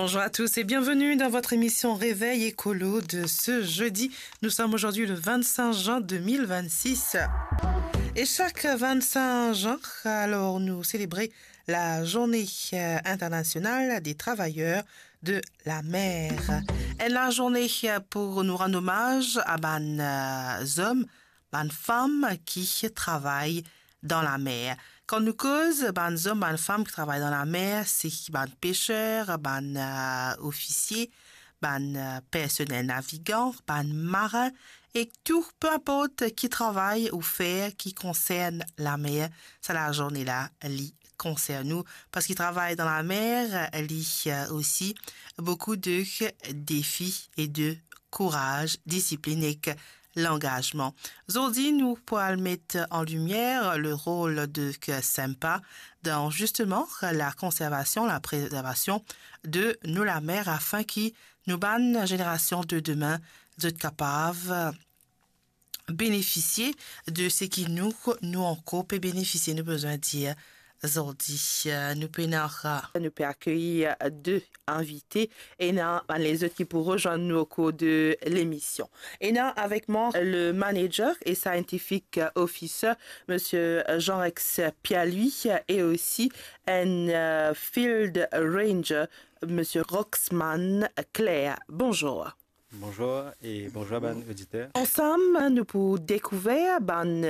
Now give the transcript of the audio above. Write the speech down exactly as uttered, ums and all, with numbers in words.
Bonjour à tous et bienvenue dans votre émission Réveil Écolo de ce jeudi. Nous sommes aujourd'hui le vingt-cinq juin deux mille vingt-six. Et chaque vingt-cinq juin, alors, nous célébrons la journée, euh, internationale des travailleurs de la mer. Enn lazourne, euh, pou nou rann omaz a bann, euh, zom, bann fam ki travay dan lamer. Kan nou koz bann zom, bann fam ki travay dan lamer, se bann peser, bann, euh, ofisie, bann, euh, personel navigan, bann marin, e tou, pe inport ki travay ou fer ki konsern lamer, sa lazourne la, li konsern ou, parski travay dan lamer, li, euh, osi boukou de defi e de kouraz, disiplin ek langazman. Zordi, nou pou al met an limier le rol de SEMPA dan, zisteman, la konservasion, la prezervasion de nou lamer, afin ki nou bann zenerasion de demin, zot kapav benefisie de seki nou, nou ankor pe benefisie, nou bizin dir zordi. Euh, nou pena, nou pe akeyir de invite, ena bann lezot ki pou rezwenn nou o kour de lemision. Ena avek mwa le manager e scientific officer, Monsieur Jean-Rex Pierre-Louis, e osi enn, euh, field ranger, Monsieur Roxman Claire. Bonjour. Bonjour e bonjour bann oditer. Ansam, nou pou dekouver bann